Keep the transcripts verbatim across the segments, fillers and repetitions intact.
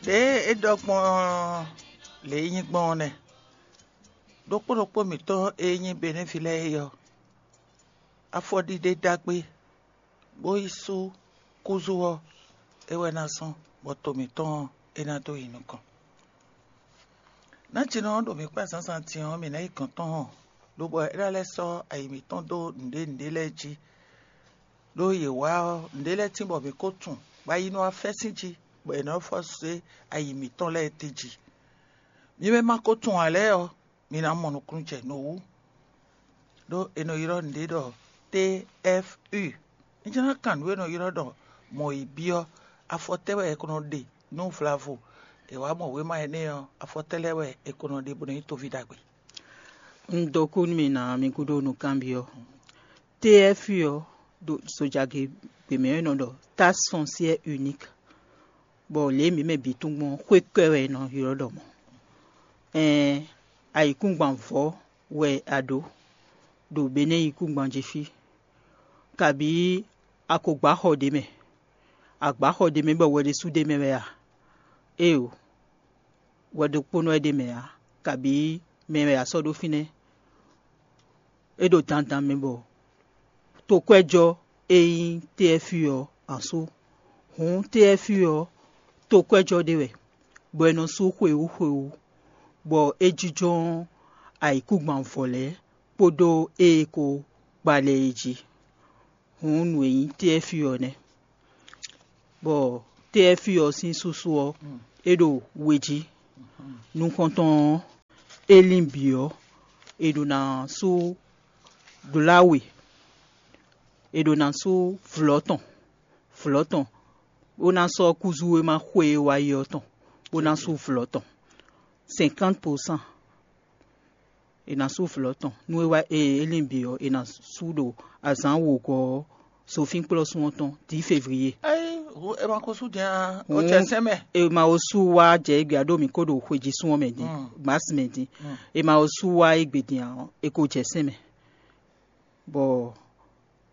Ɖě é ɖɔ gbɔn ɔ́, lě e nyí gbɔn ɔ́ nɛ́. Ɖokpó ɖokpó mǐtɔn e nyí Benɛ́vi lɛ́ɛ é ɔ́, afɔɖiɖe ɖagbe bó yi sú kúzú ɔ́, é wɛ ná zɔ́n bɔ to mǐtɔn ɔ́, é ná dó yi nukɔn. Nǎjínɔ ɔ́ ɖo mǐ kpá zǎnzǎn din ɔ́, mǐ ná yi gɔ̌n tɔn hɔn, lobɔ é ná lɛ́ sɔ́ ayi mǐtɔn dó nǔɖé nǔɖé lɛ́ɛ jí. Ɖó yě wá ɔ́, nǔɖé lɛ́ɛ tín bɔ mǐ ko tunwun, bɔ ayi nɔ wá fɛ́ sín jí, bɔ è nɔ fɔ zé ayi mǐtɔn lɛ́ɛ d'é jí. Mi mɛ ma ko tunwun ǎ lɛ́ɛ ɔ́, mi ná mɔ nukúnnú jɛ nǔ wú. Ɖó è nɔ ylɔ́ nǔɖé ɖɔ T F U. Un jló ná kan nǔ e è nɔ ylɔ́ ɖɔ mɔ̌ yi byɔ́, afɔ tɛ́ wɛ è ko nɔ ɖe nú vlavo? È wǎ mɔ wěma énɛ́ ɔ́, afɔ tɛ́ lɛ́ɛ wɛ è ko nɔ ɖe bó nɔ nyí toví ɖagbe? Un dó kú nú mi ná mi gúdo nukánbyɔ́. T F U ɔ́, ɖo zojagě gběmɛ ɔ́ è nɔ ɖɔ taxe foncière unique, bɔ lě e mǐ mɛ bǐ tunwun gbɔn ɔ́, xwé kɔ́ wɛ è nɔ ylɔ́ ɖɔ mɔ̌. Ɛɛn, ayǐkúngban vɔ̌ wɛ a ɖǒ ɖo Benɛ́ yíkúngban jí fí, kabǐ a ko gbǎ xɔ ɖě mɛ, a gbǎ xɔ ɖě mɛ bɔ wɛ ɖésú ɖ'é mɛ wɛ a? Éeǒ, wɛ ɖokpónɔ wɛ ɖ'é mɛ ǎ, kabǐ mɛ wɛ a sɔ́ ɖó fínɛ́. É ɖo dandan mɛ bɔ tokwɛ́jɔ́ e nyí T F U ɔ́, a sú. Hǔn T F U ɔ́, tokwɛ́jɔ́ ɖé wɛ, bɔ è nɔ sú xwewú xwewú, bɔ é jínjɔ́n ayǐkúngban vɔ̌ lɛ́ɛ kpódó ée ko gba lɛ́ɛ é jí. Hǔn nǔ e nyí T F U ɔ́ nɛ́. Bɔ T F U ɔ́ sín súsú ɔ́, é ɖo we jí. Nukɔntɔn ɔ́, é lín bǐ ɔ́, è ɖǒ ná sú dlá we, è ɖǒ ná sú vlɔ̌ tɔn, vlɔ̌ tɔn, bó ná sɔ́ kúzú e ma xwe e wá yi ɔ́ tɔn, bó ná sú vlɔ̌ tɔn. Cinquante pour cent. È nǎ sú vlɔ̌ tɔn. Nú é wá e é lin bǐ ɔ́, è nǎ sú ɖo azǎn wǒgɔ́ ɔ́ zofínkplɔ́sún ɔ́ tɔn dǐ fevliye. Ayi, hu e ma ko sú din a, o cɛ sɛn mɛ. E ma wo sú wá jɛ égbé a ɖó mǐ ko ɖo xwejísún ɔ́ mɛ din, gbǎsi mɛ din. E ma wo sú wá égbé din ǎ ɔ́, è ko jɛ sɛn mɛ. Bɔ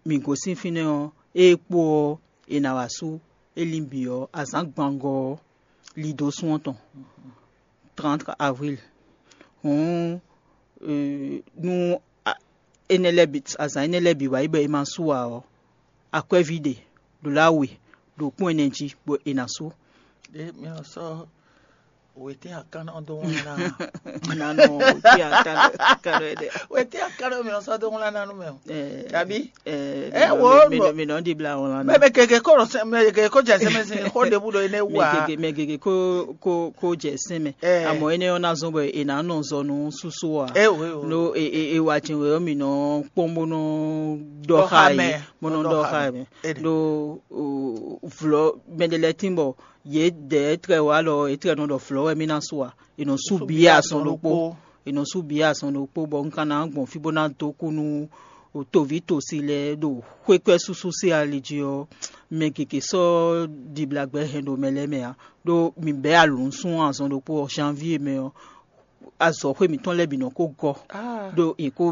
mǐ gosín fínɛ́ ɔ́, ée kpo ɔ́, è nǎ wá sú é lin bǐ ɔ́, azǎn gbangɔ ɔ́, lido sún ɔ́ tɔn, trente avril. Hǔn, nú énɛ́ lɛ́ɛ bǐ, azǎn énɛ́ lɛ́ɛ bǐ wá yi bɔ è ma sú ǎ ɔ́, akwɛ́ví ɖe ɖo lá we ɖo kpɔ́n ɛnɛ jí bɔ è nǎ sú. Ɖé mi nɔ sɔ́ wětín akánná dó wlán ná. Nanɔ wětín akánná ɖe. Wětín akánná mi nɔ sɔ́ dó wlán ná nú mɛ o. Tàbí? Ɛ wo mi nɔ ɖibla wlán ná. Mɛ gègé kó rɔ sɛ mɛ gègé kó jɛ sɛmɛ sin xó ɖebu ɖo énɛ́ wú a. Mɛ gègé mɛ gègé kó kó kó jɛ sɛmɛ. Amɔ énɛ́ ɔ́ ná zɔn bɔ è nǎ nɔ zɔ nú súsú a. Ɛ wo ɛ wo. No e e e wa jɛn wɛ ɔ́ mi nɔ kpɔ́n bó nɔ ɖɔ xá yě, bó nɔ ɖɔ xá yě. Ɖo vlɔ mɛ ɖé lɛ́ɛ tín bɔ yě dɛ étrɛ́ wá lɔ étrɛ́ nɔ ɖɔ vlɔ̌ wɛ mì ná su a? È nɔ sú bǐ azɔn ɖokpó. È nɔ sú bǐ azɔn ɖokpó bɔ un ka ná gbɔn fí bó ná dó kú nú toví tosi lɛ́ɛ ɖo xwékɔ́ súsú sín ali jí ɔ́, mɛ gěgé sɔ́ ɖiblagbɛ hɛn ɖo mɛ lɛ́ɛ mɛ ǎ. Ɖó mǐ bɛ̌ alǔnsun azɔn ɖokpó ɔ́, janvíe mɛ ɔ́, azɔ̌xwé mǐtɔn lɛ́ɛ bǐ nɔ ko gɔ́. Ɖó è ko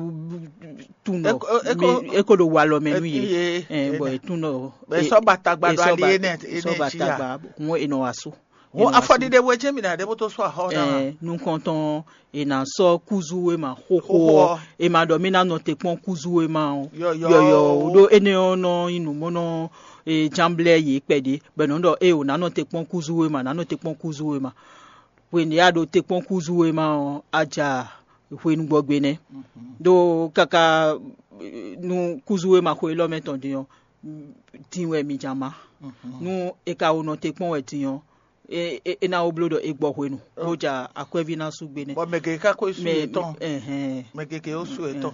tunwun ɖɔ é ko ɖo walɔ mɛ nú yě. Bɔ è tunwun ɖɔ è sɔ́ ba tagba ɖo ali énɛ́ sɔ́ ba tagba. Hɔn è nɔ wá sú. Hɔn afɔɖiɖe we jɛ́n mǐ ná ɖe bó tó sú axɔ ná. Nukɔntɔn è nǎ sɔ́ kúzú e ma xóxó ɔ́, è ma ɖɔ mì ná nɔ te kpɔ́n kúzú e ma ɔ́ yɔyɔ. Ɖó énɛ́ ɔ́ nɔ nyí nǔ mɔ nɔ jánblɛ́ yě kpɛɖé, bɔ è nɔ ɖɔ ée ò ná nɔ te kpɔ́n kúzú e ma, ná nɔ te kpɔ́n kúzú e ma. Hwenu e a ɖo te kpɔ́n kúzú e ma ɔ́, a ja hwenu gbɔgbe nɛ́. Ɖó káká nú kúzú e ma xo élɔ́ mɛ tɔn din ɔ́, din wɛ mi ja má. Nú è ka wo nɔ te kpɔ́n wɛ din ɔ́, é ná wó bló ɖɔ è gbɔ hwenu, bó ja akwɛ́ví ná sú gbe nɛ́. Bɔ mɛ gěgé ka ko sú yětɔn. Mɛ gěgé ó sú yětɔn.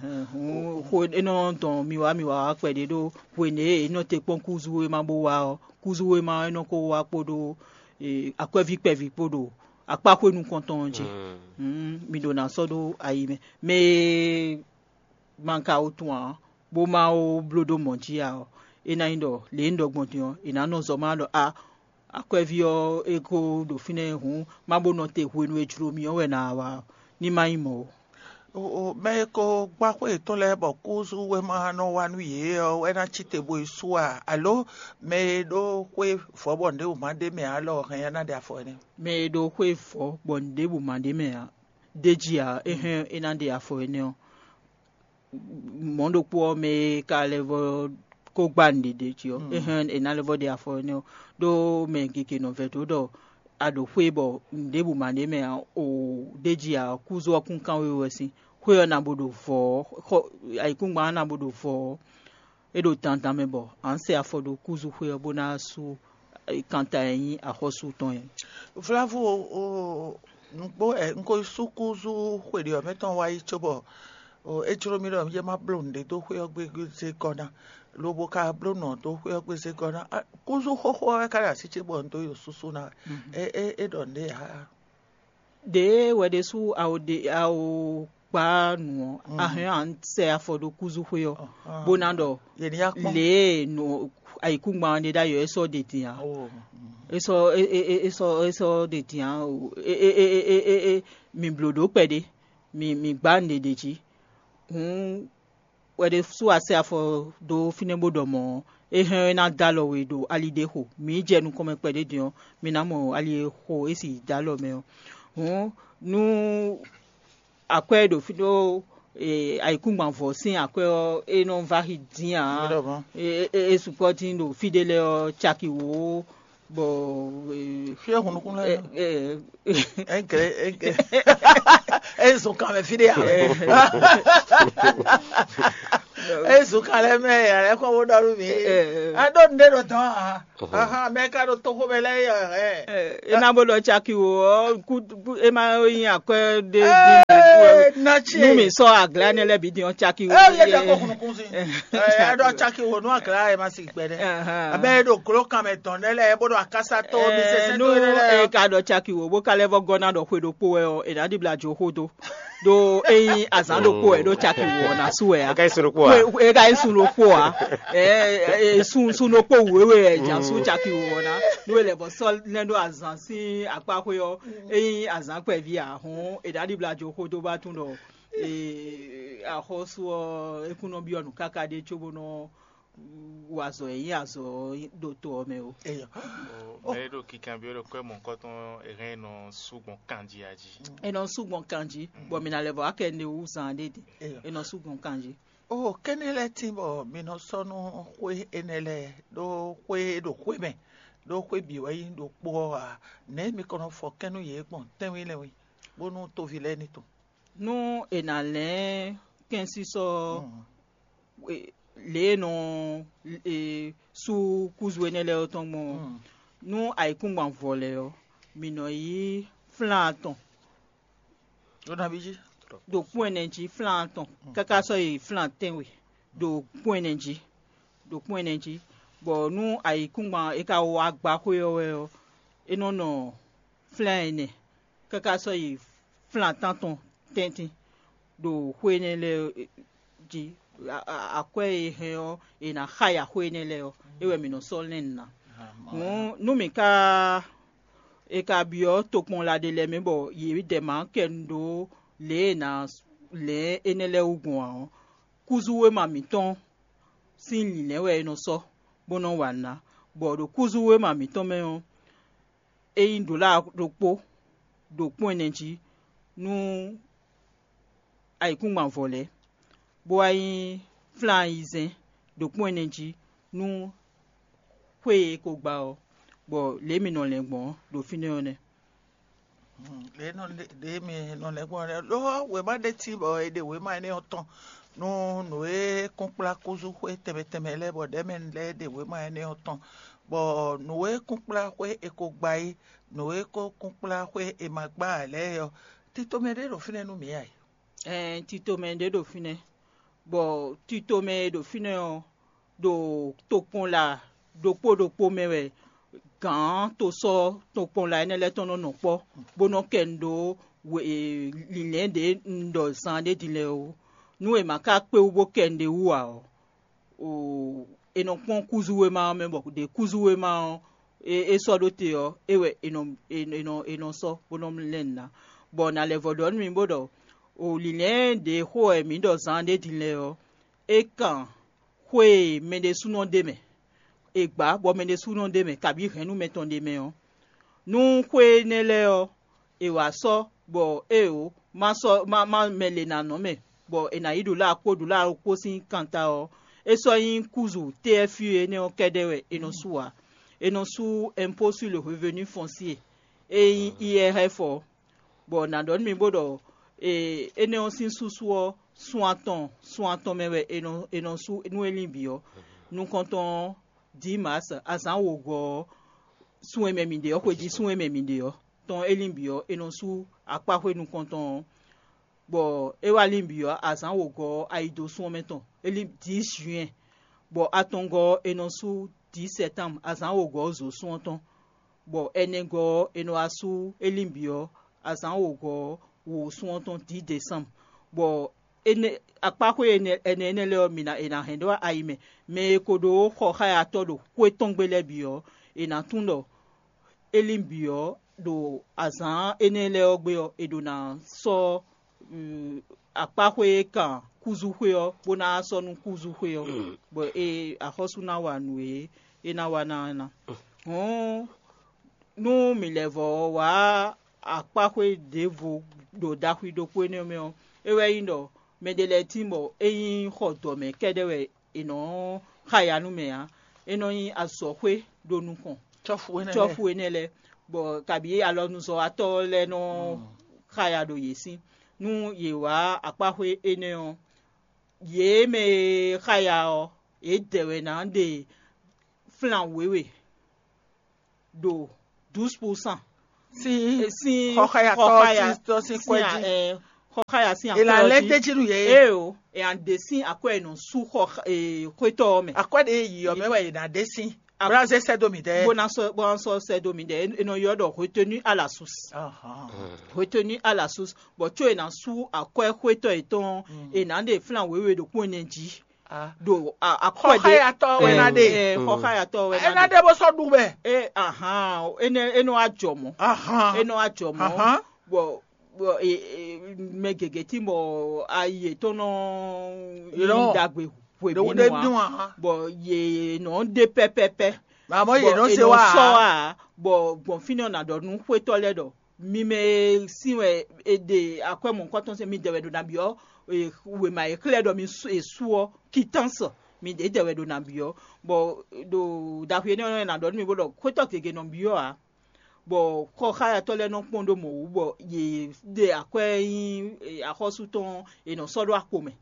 Xo é nɔ dɔn mi wá mi wá wá kpɛɖé ɖó hwenu e è nɔ te kpɔ́n kúzú e ma bó wá ɔ́, kúzú e ma ɔ́ é nɔ ko wá kpódó akwɛ́ví kpɛví kpó ɖo akpá xwé nukɔntɔn ɔ́ jí. Mi ɖo ná sɔ́ ɖó ayi mɛ. Mɛ e ma ka wo tunwun ǎ, bó ma wo bló ɖó mɔ̌ jí ǎ ɔ́, é ná nyí ɖɔ lě e un ɖɔ gbɔn din ɔ́, è nǎ nɔ zɔ má ɖɔ a akwɛ́ví ɔ́ é ko ɖo fínɛ́ hǔn, má bó nɔ te hwenu e jló mì ɔ́ wɛ ná wá ɔ́, ní má nyí mɔ̌ ó. O, o, mɛ e ko gbá xwé yětɔn lɛ́ɛ bɔ kúzú wéma nɔ wa nú yě ɔ́ wɛ ná cí te bo yi sú a? Alo mɛ e ɖó xwé vɔ̌ bɔ nǔɖé wǔ ma ɖ'é mɛ ǎ lɔ hɛn ya ná ɖe afɔ énɛ́? Mɛ e ɖó xwé vɔ̌ bɔ nǔɖěbǔ ma ɖ'é mɛ ǎ, d'é jí ǎ, é hɛn é ná ɖe afɔ énɛ́ ɔ́, mɔ̌ ɖokpó ɔ́, mɛ e ka lɛ́ vɔ́ ko gbá nǔɖé ɖ'é jí ɔ́, é hɛn è nǎ lɛ́ vɔ́ ɖe afɔ énɛ́ ɔ́, ɖó mɛ gěgé nɔ vɛdó ɖɔ a ɖo xwé bɔ nǔɖěbǔ ma ɖ'é mɛ ǎ, o, d'é jí ǎ, kúzú ɔ́ kún kán we wɛ sín. Xwé ɔ́ ná bo ɖo vɔ̌ ɔ́, xɔ ayǐkúngban ɔ́ ná bo ɖo vɔ̌ ɔ́, é ɖo dandan mɛ bɔ a nǎ sɛ afɔ ɖó kúzú xwé ɔ́ bó ná sú kanta e nyí axɔ́sú tɔn é. Vlavo, o, nǔgbó ɛ, un ko yi sú kúzú xwe ɖě ɔ́ mɛ tɔn wá yi cóbɔ, o, é jló mì ɖɔ yě má bló nǔɖé dó xwé ɔ́ gbégbé zé gɔ́ ná, lobo ka bló nǔ ɔ́ dó xwé ɔ́ gbé zé gɔ́ ná. Á, kúzú xóxó ɔ́ wɛ ka ɖo así ce bɔ un dó yi súsú ná wɛ. É, é, é ɖɔ nǔɖé ǎ. Ɖěe wɛ ɖésú a o ɖe a o gbá nǔ ɔ́, a hɛn a nǎ sɛ afɔ ɖó kúzúxwé ɔ́, bó ná ɖɔ Yě ní yá kpɔ́n. Lě e nǔ ayǐkúngban ɔ́ ɖe ɖ'ayǐ ɔ́, é sɔ́ ɖe din ǎ. Oh, mm. É sɔ́ é é é é sɔ́ é sɔ́ ɖe din ǎ. O, é é é é é é é mǐ bló ɖó kpɛɖé, mǐ mǐ gbá nǔɖé ɖ'é jí. Hǔn wɛ ɖésú a sɛ afɔ dó fínɛ́ bó ɖɔ mɔ̌ ɔ́, é hɛn ɔ́ é ná dó alɔ we ɖo ali ɖé xo. Mǐ yi jɛ nukɔn mɛ kpɛɖé din ɔ́, mi ná mɔ ali e xo é sì dó alɔ mɛ ɔ́. Hǔn nú akwɛ́ e ɖo fí ɖó ayǐkúngban vɔ̌ sín akwɛ́ ɔ́, é nɔ vá xi dín ǎ. É sukpɔ́ dín ɖo fí ɖé lɛ́ɛ ɔ́, caki wǒ bɔ Fí e hun nukún lɛ́ɛ nɔ. Ɛnkɛ ɛnkɛ. Eyi zun kan mɛ fí ɖé ya. Eyi zun kan lɛ́ɛ mɛ yɛ lɛ́ kɔ bó ɖɔ nú mi. A ɖó nu ɖé ɖo dɔn a? Ahan, mɛ ka ɖo toxo mɛ lɛ́ɛ yɛ. E ná bó ɖɔ caki wo ɔ́, kú e má nyi akwɛ́ ɖé. Natsi. Nú mi sɔ́ aglá nɛ́ lɛ́ɛ bǐ din ɔ́, caki wo. Ɛ yɛ ɖɔ ko hun nukún si. Ɛ ɖɔ caki wo nú aglá yɛ ma si gbɛɖɛ. Abe e ɖo glo kan mɛ tɔn ɖe lɛ, e bo ɖo akasa to mi sɛsɛ to ɖe lɛ. E ka ɖɔ caki wo bó ka lɛ́ vɔ gɔ́ ná ɖɔ xwe ɖokpó wɛ ɔ́, e ná ɖibla jo xó dó. Ɖó ényí azǎn ɖokpó wɛ ɖó caki wo ɔ́ ná sú wɛ á. E ka yi sun ɖokpó a? E ka yi sun ɖokpó a? Ɛ sun sun ɖokpó wěwe wɛ jà sú caki wo ɔ́ ná. Nú e lɛ bɔ sɔ́ lɛ́ ɖó azǎn sín akpá xwé ɔ́, ényí azǎn kpɛví a hɔn, e ná ɖibla jo xó dó bá tún ɖɔ axɔ́sú ɔ́, é kún nɔ byɔ́ nǔ káká ɖé cóbó nɔ wa azɔ̌ e nyí azɔ̌ ɖo to ɔ́ mɛ ó. Eyɔ. Mɛ e ɖo kinkanbyɔ́ ɖo kwɛ́ mɔ̌hunkɔtɔn e hɛn nɔ sú gbɔn kanjí a jí. È nɔ sú gbɔn kanjí, bɔ mǐ ná lɛ́ vɔ akɛ ne wú zan ɖé din. Eyɔ. È nɔ sú gbɔn kanjí. O kɛ́nɛ́ lɛ́ɛ tín bɔ mi nɔ sɔ́ nú xwé énɛ́ lɛ́ɛ ɖó xwé e ɖo xwé mɛ, ɖó xwé bǐ wɛ nyí ɖokpó ɔ́ ǎ. Nɛ̌ mi kɔn nɔ fɔ kɛ́n nú yě gbɔn tɛ́nwí lɛ́ɛ wɛ, bónú toví lɛ́ɛ ní tunwun? Nú è nǎ lɛ́n kɛ́nsísɔ ɔ́, e- lě e nɔ e sú kúzu énɛ́ lɛ́ɛ ɔ́ tɔn gbɔn ɔ́, nú ayǐkúngban vɔ lɛ́ɛ ɔ́, mǐ nɔ yí flán atɔn Ɖó nabí jí? Ɖo kpɔ́n ɛnɛ jí flán atɔn, káká sɔ́ yi flán tɛ́nwe ɖo kpɔ́n ɛnɛ jí, ɖo kpɔ́n ɛnɛ jí, bɔ nú ayǐkúngban e ka wá gbá xwé ɔ́ wɛ ɔ́, é nɔ nɔ flán ɛnɛ, káká sɔ́ yi flán tántɔn tɛ́ntin ɖo xwé énɛ́ lɛ́ɛ jí. Akwɛ́ e hɛn ɔ́, è nǎ xa yi axwé énɛ́ lɛ́ɛ ɔ́, é wɛ mǐ nɔ sɔ́ lɛ́n nǔ ná. Hǔn nú mǐ ka è ka byɔ́ tokpɔnla ɖé lɛ́ɛ mɛ bɔ yě dɛ mǎ kɛ nu ɖó lě e è nǎ lɛ̌n énɛ́ lɛ́ɛ wú gbɔn ǎ ɔ́, kúzú wéma mǐtɔn sín lǐnlɛ́n wɛ è nɔ sɔ́ bó nɔ́ wa nǔ ná, bɔ ɖo kúzú wéma mǐtɔn mɛ ɔ́, é nyí ɖǒla ɖokpó ɖo kpɔ́n ɛnɛ jí nú ayǐkúngban vɔ lɛ́ɛ, bó wá nyí flán ayizɛ́n ɖo kpɔ́n ɛnɛ jí nú xwé e è ko gba ɔ́, bɔ lě e mǐ nɔ lɛn gbɔn ɔ́ ɖo fínɛ́ ɔ́ nɛ́. Ɖě nɔ ɖě mi nɔ lɛn gbɔn lɛ́ɛ ɖó wěma ɖé cí bɔ è ɖe wěma énɛ́ ɔ́ tɔn nú nǔ e kún kplá kúzú xwé tɛnmɛ tɛnmɛ lɛ́ɛ bɔ ɖɛ̌mɛ lɛ́ɛ ɖe wěma énɛ́ ɔ́ tɔn, bɔ nǔ e kún kplá xwé è ko gba é, nǔ e ko kún kplá xwé è ma gbá ǎ lɛ́ɛ ɔ́, tito mɛ ɖé ɖo fínɛ́ nú mǐ ǎ. Ɛɛ tito mɛ ɖé ɖo fínɛ́, bɔ tito mɛ e ɖo fínɛ́ ɔ́, ɖo tokpɔnla ɖokpó ɖokpó mɛ wɛ gǎn tosɔ́ tokpɔnla énɛ́ lɛ́ɛ tɔn nɔ nɔ kpɔ́, bó nɔ́ kɛ nu ɖó lǐnlɛ́n ɖě un ɖɔ zan ɖé din lɛ́ɛ ó. Nú è ma ka kpé wú bó kɛ nu ɖé wú ǎ ɔ́, è nɔ kpɔ́n kúzú wéma ɔ́ mɛ bɔ ɖě kúzú wéma ɔ́ é sɔ́ ɖó te ɔ́, é wɛ è nɔ è nɔ è nɔ sɔ́ bó nɔ́ lɛ́n nǔ ná. Bɔ nǎ lɛ́ vɔ ɖɔ nú mi bó ɖɔ O lǐnlɛ́n ɖě xo wɛ mǐ ɖɔ zaan ɖé din lɛ́ɛ ɔ́, é kan xwé e mɛ ɖésúnɔ ɖ'é mɛ, è gbǎ bɔ mɛ ɖésúnɔ ɖ'é mɛ, kabǐ hɛ̌nnu mɛtɔn ɖ'é mɛ ɔ́. Nú xwé énɛ́ lɛ́ɛ ɔ́, è wǎ sɔ́ bɔ éeǒ, má sɔ́ má má mɛ lě ná nɔ mɛ, bɔ è nǎ yi ɖo lá kpó ɖo lá kpó sín kanta ɔ́, é sɔ́ nyí kúzu T F U énɛ́ ɔ́ kɛ́ɖɛ́ wɛ è nɔ sú ǎ. È nɔ sú impôt sur le revenu foncier, e nyí I R F ɔ́. Bɔ nǎ ɖɔ nú mi bó ɖɔ énɛ́ ɔ́ sín súsú ɔ́, sun atɔn sun atɔn mɛ wɛ è nɔ è nɔ sú nú é lin bǐ ɔ́. Nukɔntɔn ɔ́, dǐ Maas azǎn wǒgɔ́ ɔ́, sun e mɛ mǐ ɖe ɔ́, xwejí sun e mɛ mǐ ɖe ɔ́ tɔn é lin bǐ ɔ́, è nɔ sú akpáxwé nukɔntɔn ɔ́, bɔ é wá lin bǐ ɔ́, azǎn wǒgɔ́ ɔ́, ayi dó sun ɔ́ mɛ tɔn, é lin dǐ juin, bɔ atɔngɔ́ ɔ́, è nɔ sú dǐ sɛ́tanm, azǎn wǒgɔ́ ɔ́, zǒ sun ɔ́ tɔn, bɔ ɛnɛgɔ́ ɔ́, è nɔ wá sú é lin bǐ ɔ́, azǎn wǒgɔ́ ɔ́, wǒ sun ɔ́ tɔn dǐ dɛ̌sanm, bɔ énɛ́ akpáxwé ɛnɛ ɛnɛ lɛ́ɛ ɔ́, mi ná è nǎ hɛn ɖó ayi mɛ. Mɛ e ko ɖó xɔxáyatɔ́ ɖo xwé tɔn gbe lɛ́ɛ bǐ ɔ́, è nǎ tunwun ɖɔ é lin bǐ ɔ́, ɖo azǎn énɛ́ lɛ́ɛ ɔ́ gbe ɔ́, è ɖǒ ná sɔ́ akpáxwé e kan kúzúxwé ɔ́, bó ná sɔ́ nú kúzúxwé ɔ́, bɔ é axɔ́sú ná wa nǔ e é ná wa ná ɔ́ ná. Hǔn nú mǐ lɛ́ vɔ́ wá akpáxwé ɖěvo ɖo ɖaxwi ɖokpó énɛ́ mɛ ɔ́, é wɛ nyí ɖɔ mɛɖé lɛ́ɛ tíin bɔ é nyí xɔ dɔ̌ mɛ kɛ́ɖɛ́ wɛ è nɔ́ xa ya nú mɛ ǎ; é nɔ nyí azɔ̌xwé ɖo nukɔn cɔ́fu énɛ́ lɛ́ɛ. Cɔ́fu énɛ́ lɛ́ɛ, bɔ kabǐ alɔnuzɔ́watɔ́ lɛ́ɛ nɔ xa ya ɖo yě sín. Nú yě wá akpáxwé énɛ́ ɔ́, yě mɛ e xa ya ɔ́, yě dɛ wɛ ná ɖe flan wěwe ɖo douze pour cent sín sín xɔxayatɔ xɔxaya sín tɔ́ sín sín kwɛ́ a- jí. Ɛ, xɔxaya sín È nǎ akwɛ́ ɔ́ lɛ́ jí. D'é jí nú yě. Ée o, è nǎ ɖe sín akwɛ́ e nɔ sú xɔ e, xwétɔ́ ɔ́ mɛ. Akwɛ́ ɖě e yǐ ɔ́ mɛ wɛ è nǎ ɖe sín. A- Bó ná zé sɛ́ dó mǐ dɛ́. Bó ná sɔ́ bó ná sɔ́ sɛ́ dó mǐ ɖɛ. É nɔ ylɔ́ ɖɔ retenu à la source. Ahán. Retenu à la source. Bɔ có è nǎ sú akwɛ́ xwétɔ́ yětɔn ɔ́, è nǎ ɖe flan wěwe ɖo kpɔ́n ɛnɛ jí. Ah. Ɖo a- akwɛ́ ɖé. Xɔxayatɔ wɛ ná ɖe. Ɛ, xɔxayatɔ́ wɛ Ɛ ná ná ɖe. Ɖe bó sɔ́ ɖu mɛ. É ahán, énɛ́ é nɔ wá jɔ mɔ̌. Ahán. É nɔ wá jɔ mɔ̌. Ahán. Bɔ bɔ e- e- mɛ gěgé tín bɔ ayi yětɔn nɔ Yě nɔ- nyí ɖagbe hwebǐnu ɖe ǎ. Dun ahán. Bɔ yě nɔ ɖe pɛ́pɛ́pɛ́. Àmọ́ yě Bɔ nɔ è se nɔ wá sɔ́ ǎ. Wá bɔ gbɔn fínɛ́ ɔ́ ná ɖɔ nú xwétɔ́ lɛ́ɛ ɖɔ mi mɛ e sín wɛ è ɖe akwɛ́ mɔ̌hunkɔtɔn sín mi dɛ wɛ ɖo ná byɔ́ e, wěma e xlɛ́ ɖɔ mi sú- è sú ɔ́, kitánsɔ mi ɖě dɛ wɛ ɖo ná byɔ́. Bɔ ɖo ɖaxwi énɛ́ ɔ́ ná ɖɔ nú mi bó ɖɔ xwétɔ́ gěgé nɔ byɔ́ ǎ. Bɔ xɔxáyatɔ́ lɛ́ɛ nɔ kpɔ́n ɖó mɔ̌ wú, bɔ yě ɖe akwɛ́ nyi axɔ́sú tɔn è nɔ sɔ́ ɖó akpo mɛ.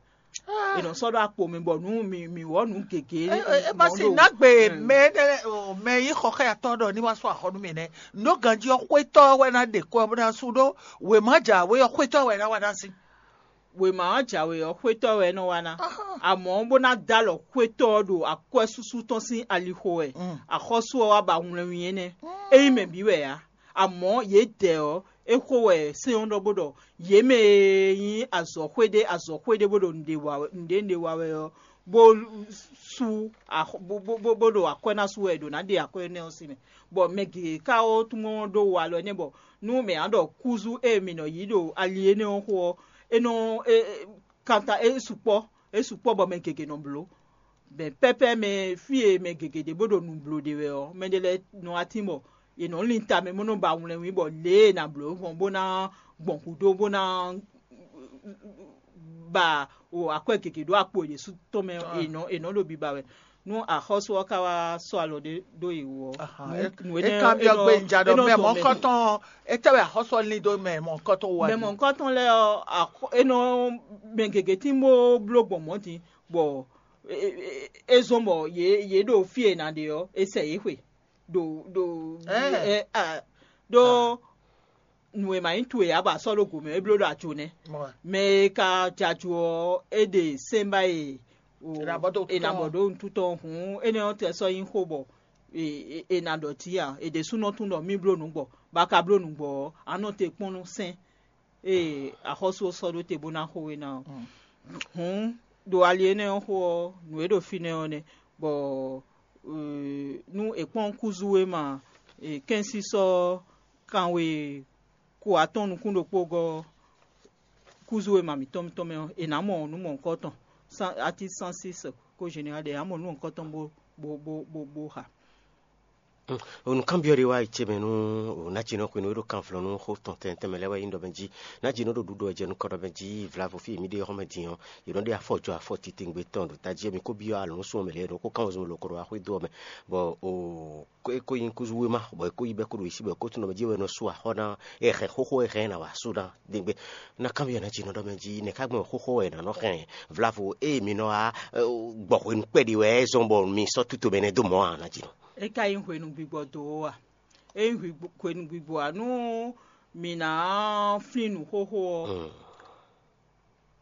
È nɔ sɔ́ ɖó akpo mɛ bɔ nú mǐ mǐ wɔ nǔ gěgé. É- é- é ma mɔ si ɖo- nagbe Mm. Mɛ énɛ́ lɛ́ɛ- o, mɛ yí xɔxɛyatɔ ɖɔ ní wá sɔ́ axɔ nú mì nɛ́. Nǔ ganjí ɔ́, xwétɔ́ wɛ ná ɖe kɔ bó ná sú ɖó wěma jǎwe ɔ́, xwétɔ́ wɛ ná wá ná sí. Wěma ɔ́ jǎwe ɔ́, xwétɔ́ wɛ é nɔ wá ná. Amɔ̌ bó ná dó alɔ xwétɔ́ ɔ́ ɖo akwɛ́súsú tɔn sín alixo wɛ. Mm. Axɔ́sú ɔ́ wá ba wlɛnwin énɛ́. É nyí mɛ bǐ wɛ ǎ. Amɔ̌ yědɛɛ ɔ́, é xo wɛ sɛ́n ɔ́ ɖɔ bó ɖɔ yě mɛ e nyí azɔ̌xwé ɖé azɔ̌xwé ɖé bó ɖo nǔɖé wa wɛ- nǔɖé nǔɖé wa wɛ ɔ́, bó sú axɔ- bó bó bó bó ɖo akwɛ́ ná sú wɛ è ɖǒ ná ɖe akwɛ́ énɛ́ ɔ́ sín mɛ. Bɔ mɛ gěgé ka ó tún ɖó walɔ énɛ́ bɔ nú mɛ ǎ ɖɔ kúzú e mǐ nɔ yí ɖo ali énɛ́ ɔ́ xo ɔ́, é nɔ é é- kanta é sukpɔ́ é sukpɔ́ bɔ mɛ gěgé nɔ bló. Bɛ pɛ́pɛ́ mɛ fí e mɛ gěgé ɖě bó ɖo nǔ bló ɖe wɛ ɔ́, mɛɖé lɛ́ɛ nɔ wá tín bɔ è nɔ lin tamɛ bó nɔ ba wlɛnwí bɔ lě e è nǎ bló gbɔn bó ná gbɔn gǔdo bó ná ba o akwɛ́ gěgé ɖó akpo è ɖě sú tɔn mɛ è nɔ è nɔ ɖo biba wɛ. Nú axɔ́sú ɔ́ ka wá sɔ́ alɔ ɖé ɖó yě wú ɔ́, Ahan, nǔ- é- nǔ é énɛ́- kan byɔ́ é nɔ- gbé nja é ɖɔ nɔ mɛ tɔn mɛ. Mɔ̌kɔtɔn étɛ́ wɛ axɔ́sú ɔ́ lín dó mɛ mɔ̌kɔtɔn wú wɛ Mɛ mɔ̌kɔtɔn lɛ́ɛ ɔ́, axɔ- é nɔ mɛ gěgé tín bó bló gbɔn mɔ̌ din, bɔ é- é- é zɔ́n bɔ yě yě ɖo fí e è nǎ ɖe ɔ́, è sɛ yě xwe ɖo ɖo Ɛɛ. ɛ- a- ɖó nǔ e ma nyí towe ǎ bɔ a sɔ́ ɖó gǒmɛ é bló ɖo ajo nɛ́. Mɛ e ka jɛ ajo ɔ́, é ɖe sɛ́nbá e o- È nǎ bɔ dó è nǎ tɔn. Bɔ ɖó nutú tɔn hǔn énɛ́ ɔ́ tɛ sɔ́ nyí xó bɔ è- è- è nǎ ɖɔ tǐ ǎ. È ɖésúnɔ tún ɖɔ mí bló nǔ gbɔ, bɔ a ka bló nǔ gbɔ ɔ́, a nɔ te kpɔ́n nú sɛ́n e axɔ́sú ɔ́ sɔ́ ɖó te bó ná xo we ná ɔ́. Hǔn ɖo ali énɛ́ ɔ́ xo ɔ́, nǔ e ɖo fínɛ́ ɔ́ nɛ́, bɔ nú è kpɔ́n kúzú e ma kɛ́nsísɔ́ kanwe ko atɔ́ɔ́n nukún ɖokpó gɔ́ ɔ́, kúzú e ma mǐtɔn mǐtɔn mɛ ɔ́, è nǎ mɔ nǔ mɔ̌hunkɔtɔn, atí cent six ko général ɖe, è nǎ mɔ nǔ mɔ̌hunkɔtɔn bó bó bó bó bó xa. Onukánbyɔ́ ɖé wá yi ce mɛ nú Nacinɔ xwenu e ɖo kanvlɔ́ nú xó tɔn tɛntɛn mɛ lɛ́ɛ wɛ nyí ɖɔ mɛ jí. Nacinɔ ɖo ɖuɖu wɛ jɛ nukɔn ɖɔ mɛ jí vlavo fí e mǐ ɖe ɔ́ xɔ́ mɛ din ɔ́, yě nɔ ɖe afɔ jɔ afɔ titewungbe tɔn ɖo tají ɔ́, mi ko byɔ́ alɔ̌núsú ɔ́ mɛ lě e è nɔ ko kán wezun lǒ ko ɖo wá xwedó ɔ́ mɛ, bɔ o é ko nyí kúzú wéma, bɔ é ko yí bɛ́ kó ɖo yě sí, bɔ é ko tunwun ɖɔ mɛ jí wɛ è nɔ sú axɔ́ ná, é hɛn xóxó e hɛn ná wá sú ná ɖe gbe. Ná kanbyɔ́ ná jǐ nɔ ɖɔ mɛ jí nɛ̌ ká gbɔn xóxó wɛ è nǎ nɔ hɛn vlavo ée mi nɔ wá gbɔ hwenu kpɛɖé wɛ é zɔ́n bɔ mi sɔ́ túto mɛ nɛ́ dó mɔ̌ ǎ ná jí nɔ. É ka nyí hwenu gbigbɔ dó ó a? É nyí hwenu gbigbɔ ǎ nú mǐ ná flín nǔ xóxó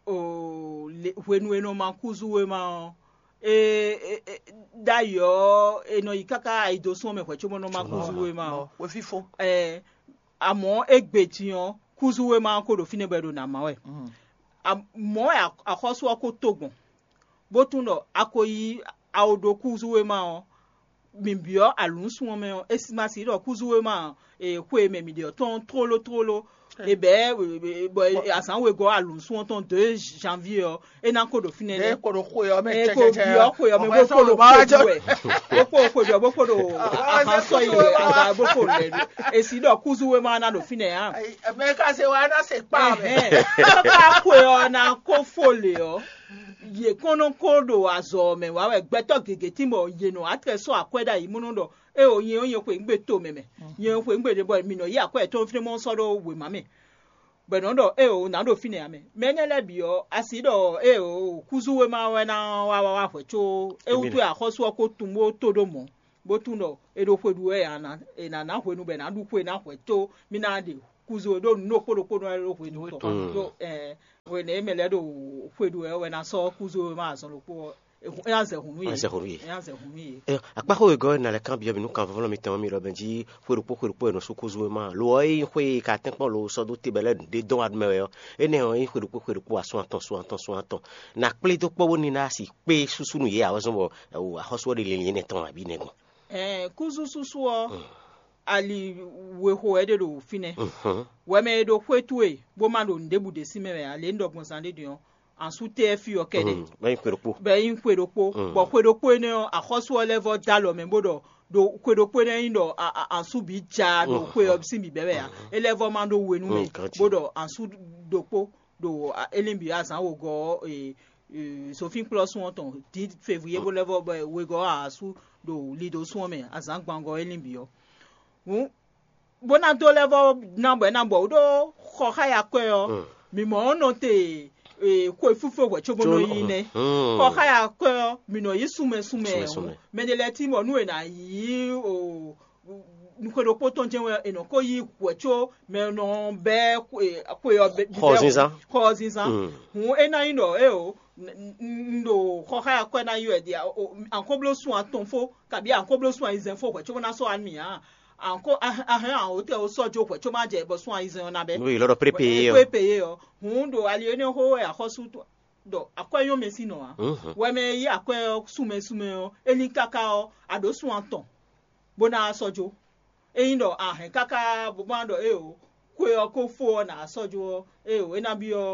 ɔ́, hwenu e nɔ ma kúzú wéma ɔ́, ɖ'ayǐ ɔ́, è nɔ yi káká ayidosún ɔ́ mɛ hwɛ̌ cóbɔ nɔ ma kúzú wéma ɔ́. Wěfífó. Amɔ̌ égbé din ɔ́, kúzú wéma ɔ́ ko ɖo fínɛ́ bɔ è ɖo nǎ má wɛ. Mɔ̌ wɛ axɔ́sú ɔ́ ko tó gbɔn, bó tunwun ɖɔ a ko yí awo ɖó kúzú wéma ɔ́, mǐ byɔ́ alǔnsun ɔ́ mɛ ɔ́, é ma sixú ɖɔ kúzú wéma xwe e mɛ mǐ ɖe ɔ́ tɔn tlóló tlóló. È bɛ̌ bɔ azǎn wegɔ́ alǔnsun ɔ́ tɔn dó janvier ɔ́, é ná ko ɖo fínɛ́ lɛ́ɛ. Ko ɖo xwe ɔ́ mɛ. Ko byɔ́ xwe ɔ́ mɛ bó ko ɖo xwe ɖu wɛ, bó ko xwe ɖu wɛ bó ko ɖo ahán sɔ́ yi wɛ aga bó ko lɛ ɖu. È sixú ɖɔ kúzú wéma ná ɖo fínɛ́ ǎ. Mɛ ka se wa ná se kpa mɛ. Ká xwe ɔ́ ná ko fó lě ɔ́, yě kɔn nɔ ko ɖo azɔ̌ ɔ́ mɛ wá wɛ. Gbɛtɔ́ gěgé tín bɔ yě nɔ atlɛ sɔ́ akwɛ́ ɖ'ayǐ mɔnɔ ɖɔ éeǒ nyɛ ɔ́ nyɛ xwe nǔ gbe to mɛ mɛ, nyɛ xwe nǔ gbe ɖě bɔ mǐ nɔ yí akwɛ́ yětɔn fínɛ́ mɔ sɔ́ ɖó wěma mɛ, bɔ è nɔ ɖɔ éeǒ nǎ ɖo fínɛ́ ǎ mɛ. Mɛ énɛ́ lɛ́ɛ bǐ ɔ́, a sixú ɖɔ éeǒ kúzú wéma wɛ ná wá wá wá hwɛ̌ có é wútu wɛ axɔ́sú ɔ́ ko tunwun bó tó ɖó mɔ̌, bó tunwun ɖɔ è ɖo xwe ɖu wɛ ǎ, è nǎ ná hwenu bɔ è nǎ ɖu xwe ná hwɛ̌ có mì ná ɖe kúzú e ɖó nǔ ɖokpó ɖokpó nɔ wɛ ɖó hwenu tɔn. Ɖó hwenu e mɛ lɛ́ɛ ɖo xwe ɖu wɛ wɛ ná sɔ́ kúzú e ma azɔn ɖokpó ɔ́, é ná zɛ hǔn nú yě. Ná zɛ hǔn nú yě. É ná zɛ hǔn nú yě. Akpáxó wegɔ́ ɔ́, ná lɛ́ kanbyɔ́ mì nú kanvɔ́vɔ́ mǐtɔn ɔ́, mi ɖɔ mɛ jí xwe ɖokpó xwe ɖokpó è nɔ sú kúzú e ma lo ɔ́, é nyí xwe e ka tɛ́nkpɔ́n lo sɔ́ dó te bɔ é lɛ́ ɖě dɔn wá ɖu mɛ wɛ ɔ́, énɛ́ ɔ́, é nyí xwe ɖokpó xwe ɖokpó asún atɔn asún atɔn asún atɔn. Ná kplé dó kpɔ́ bónú ná sixú kpé súsú nú yě ǎ wɛ zɔ́n bɔ axɔ́sú ɔ́ ɖe linlin énɛ́ tɔn abǐ nɛ́ gbɔn. Ɛɛ, kúzú súsú ɔ́, ali wexo wɛ é ɖe ɖo fínɛ́. Wɛ mɛ e ɖo xwé towe bó ma ɖo nǔɖébǔ ɖě sín mɛ wɛ ǎ, lě un ɖɔ gbɔn zán ɖé din ɔ́, ansú tɛ́ fí ɔ́ kɛ́ɖɛ́. Bɔ é nyí xwe ɖokpó. Bɔ xwe ɖokpó énɛ́ ɔ́, axɔ́sú ɔ́ lɛ́ vɔ́ dó alɔ mɛ bó ɖɔ ɖo xwe ɖokpó énɛ́ nyí ɖɔ ansú bǐ ja ɖo xwe ɔ́ sín bǐbɛ́ wɛ ǎ. É lɛ́ vɔ́ ma ɖó we nú mɛ bó ɖɔ ansú ɖokpó ɖo élín bǐ azǎn wǒgɔ́ ɔ́, zofínkplɔ́sún ɔ́ tɔn dǐ fevwiyé bó lɛ́ vɔ́ bɔ wegɔ́ asú ɖo lidosún ɔ́ mɛ azǎn gbangɔ élín bǐ ɔ́. Hǔn bó ná dó lɛ́ vɔ́ ná bɔ é ná bɔ wǔ ɖó xɔ xá ya kwɛ́ ɔ́, mǐ mɔ ɔ́ nɔ te xwe fífó hwɛ̌ cóbó nɔ yí nɛ́. Xɔ xá ya kwɛ́ ɔ́, mǐ nɔ yí sunmɛ sunmɛ. Mɛ ɖé lɛ́ɛ tín bɔ nú è nǎ yí xwe ɖokpó tɔn jɛ́n wɛ è nɔ ko yí hwɛ̌ có mɛ nɔ bɛ́ xwe ɔ́ xɔ zinzán. Xɔ zinzán. Hǔn é ná nyí ɖɔ éeǒ, un ɖo xɔ xá ya kwɛ́ ná yí wɛ ɖi ankóblósun atɔn fó kabí ankóblósun ayizɛ́n fó hwɛ̌ có bó ná sɔ́ wá nú mì ǎ. Ankó ahɛn awǒtɛn ó sɔ́ jó hwɛ̌ có má jɛ bɔ sún ayizɛ́n ɔ́ ná bɛ́. Nú yě lɔ ɖɔ prépeyé ɔ́. Prépeyé ɔ́. Hǔn ɖo ali énɛ́ xó wɛ axɔ́sú ɖɔ akwɛ́ nyɔ́ mɛ sín nɔ ǎ. Wɛ mɛ e yí akwɛ́ ɔ́ súnmɛ súnmɛ ɔ́, é lín káká ɔ́, a ɖǒ sun atɔn bó ná sɔ́ jó. Ényí ɖɔ a hɛn káká bó má ɖɔ éeǒ, xwe ɔ́ ko fó ɔ́ nǎ sɔ́ jó ɔ́, éeǒ, é ná byɔ́